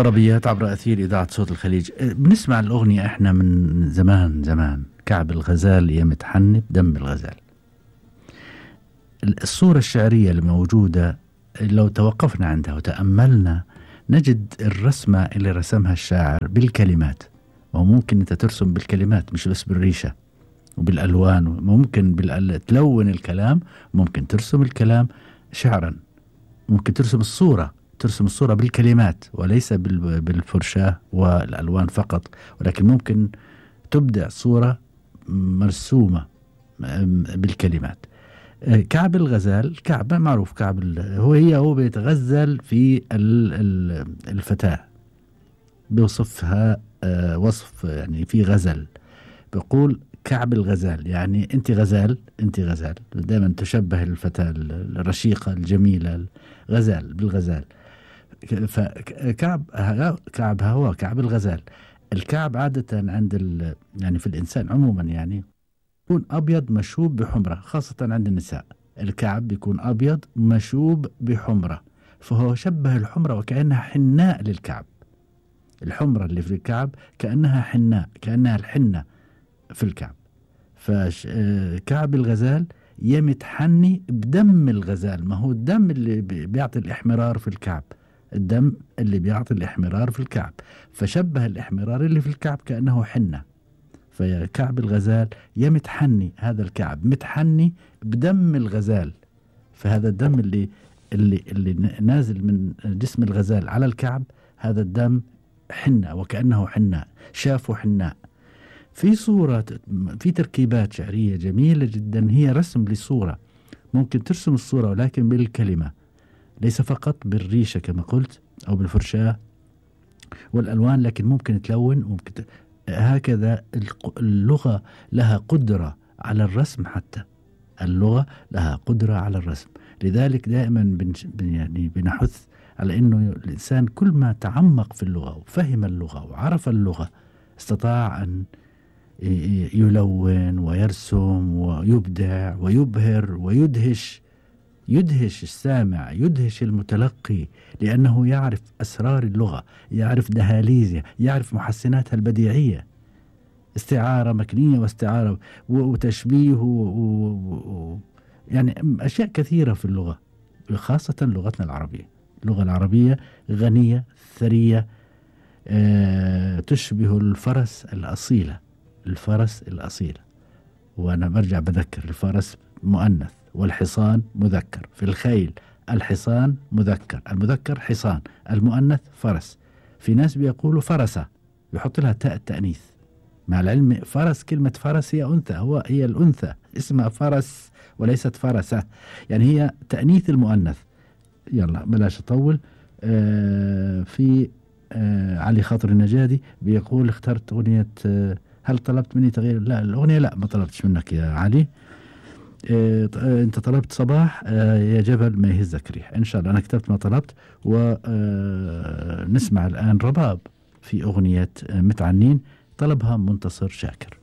طربيات عبر أثير إذاعة صوت الخليج. بنسمع الأغنية إحنا من زمان زمان. كعب الغزال يا متحني بدم الغزال. الصورة الشعرية الموجودة لو توقفنا عندها وتأملنا نجد الرسمة اللي رسمها الشاعر بالكلمات، وممكن أنت ترسم بالكلمات مش بس بالريشة وبالألوان، ممكن تلون الكلام، ممكن ترسم الكلام شعرا، ممكن ترسم الصورة بالكلمات وليس بالفرشاة والألوان فقط، ولكن ممكن تبدع صورة مرسومة بالكلمات. كعب الغزال، كعب معروف، كعب هو بيتغزل في الفتاة، بيوصفها وصف يعني في غزل، بيقول كعب الغزال يعني أنت غزال، أنت غزال، دائما تشبه الفتاة الرشيقة الجميلة غزال بالغزال. كعب هو كعب الغزال. الكعب عادة عند يعني في الإنسان عموما يعني يكون أبيض مشوب بحمرة، خاصة عند النساء الكعب بيكون أبيض مشوب بحمرة، فهو شبه الحمرة وكأنها حناء للكعب. الحمرة اللي في الكعب كأنها حناء، كأنها الحنة في الكعب. فكعب الغزال يمتحني بدم الغزال، ما هو الدم اللي بيعطي الإحمرار في الكعب، الدم اللي بيعطي الإحمرار في الكعب، فشبه الإحمرار اللي في الكعب كأنه حنة. فكعب الغزال يمتحني، هذا الكعب متحني بدم الغزال، فهذا الدم اللي نازل من جسم الغزال على الكعب، هذا الدم حنة وكأنه حناء، شافه حناء. في صورة، في تركيبات شعرية جميلة جدا، هي رسم للصورة، ممكن ترسم الصورة ولكن بالكلمة ليس فقط بالريشة كما قلت أو بالفرشاة والألوان، لكن ممكن تلون، ممكن هكذا. اللغة لها قدرة على الرسم، حتى اللغة لها قدرة على الرسم. لذلك دائما يعني بنحث على أنه الإنسان كل ما تعمق في اللغة وفهم اللغة وعرف اللغة استطاع أن يلون ويرسم ويبدع ويبهر ويدهش، يدهش السامع، يدهش المتلقي، لأنه يعرف أسرار اللغة، يعرف دهاليزها، يعرف محسناتها البديعية، استعارة مكنية واستعارة وتشبيه يعني أشياء كثيرة في اللغة، خاصة لغتنا العربية. اللغة العربية غنية ثرية، تشبه الفرس الأصيلة، الفرس الأصيلة. وأنا برجع بذكر، الفرس مؤنث والحصان مذكر، في الخيل الحصان مذكر، المذكر حصان، المؤنث فرس. في ناس بيقولوا فرسة، يحط لها تاء التأنيث، مع العلم فرس، كلمة فرس هي أنثى، هي الأنثى اسمها فرس وليست فرسة، يعني هي تأنيث المؤنث. يلا بلاش أطول. في علي خاطر النجادي بيقول اخترت أغنية هل طلبت مني تغيير؟ لا، الأغنية لا، ما طلبتش منك يا علي. أنت طلبت صباح يا جبل ما يهزك ريح. إن شاء الله أنا كتبت ما طلبت. ونسمع الآن رباب في أغنية متعنين، طلبها منتصر شاكر.